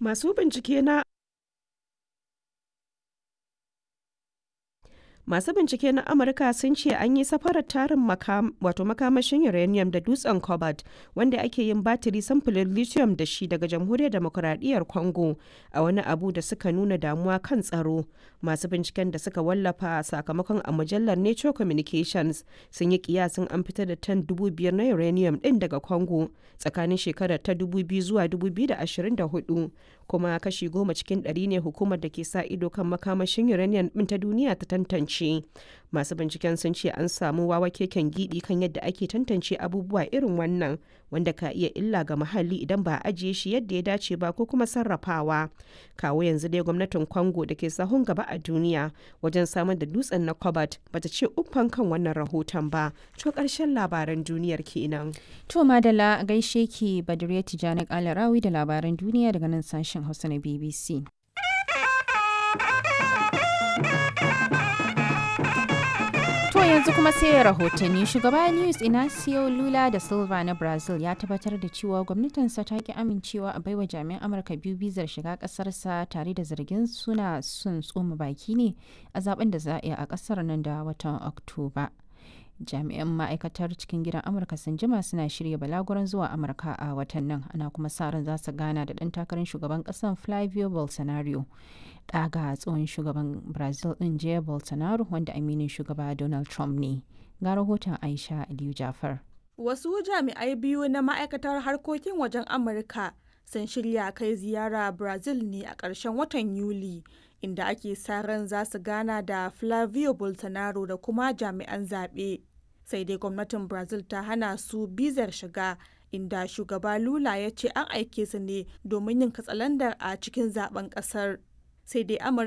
Masu bincike na Masu bincike na Amurka sun ce an yi safarar tarin wato makamashin uranium da dutsen cobalt wanda ake yin batiri samfurin lithium da shi daga Jamhuriyar Demokuraɗiyyar Congo a wani abu da suka nuna damuwa kan tsaro. Masu binciken da suka wallafa sakamakon a mujallar Nature Communications sun yi kiyasin an fitar da tan 5,000 na uranium ɗin daga Congo tsakanin shekarar ta 2000 zuwa 2024, kuma kashi 10% ne hukumar da ke sa ido kan makamashin uranium ɗin ta duniya ta tantance. Masu binciken sun ce an samu wawa keken gidi kan yadda ake tantance abubuwa irin wannan wanda ka iya illa ga muhalli idan ba a ajiye shi yadda ya dace ba ko kuma sarrafawa. Kawo yanzu dai gwamnatin Congo da ke sahun gaba a duniya wajen samar da dutsen na cobalt bata ce uffan kan wannan rahoton ba. To, karshen labaran duniyar kenan. To madalla, gaishe ki Badriya Tijani Kalarawi da labaran duniya daga nan sashen Hausa na BBC. To yanzu kuma sai rahotanni. Shugaba Luis Inacio Lula da Silva na Brazil ya tabbatar da cewa gwamnatinsa ta ki amincewa a baiwa jami'an Amurka biyu bizar shiga kasarsa, tare da zargin suna sun tsoma baki ne a zaben da za a yi a kasar nan da watan Oktoba. Jami'an ma'aikatar cikin gidan Amurka sun jima suna shirya balaguran zuwa Amurka a watan nan, ana kuma sa ran za su gana da ɗan takarar shugaban ƙasar Flavio Bolsonaro, ɗaga tsohon shugaban Brazil ɗin Jair Bolsonaro, wanda aminin shugaba Donald Trump ne. Ga rahoton Aisha Aliyu Jafar. Wasu jami'ai biyu na ma'aikatar harkokin wajen Amurka sun shirya kai ziyara Brazil ne a ƙarshen watan Yuli, inda ake sa ran za su gana da Flavio Bolsonaro da kuma jami'an zaɓe. Sai dai gwamnatin Brazil ta hana su bizar shiga, inda shugaba Lula ya ce an aike su ne domin yin katsalandar a cikin zaben ƙasar. Sai dai Amurka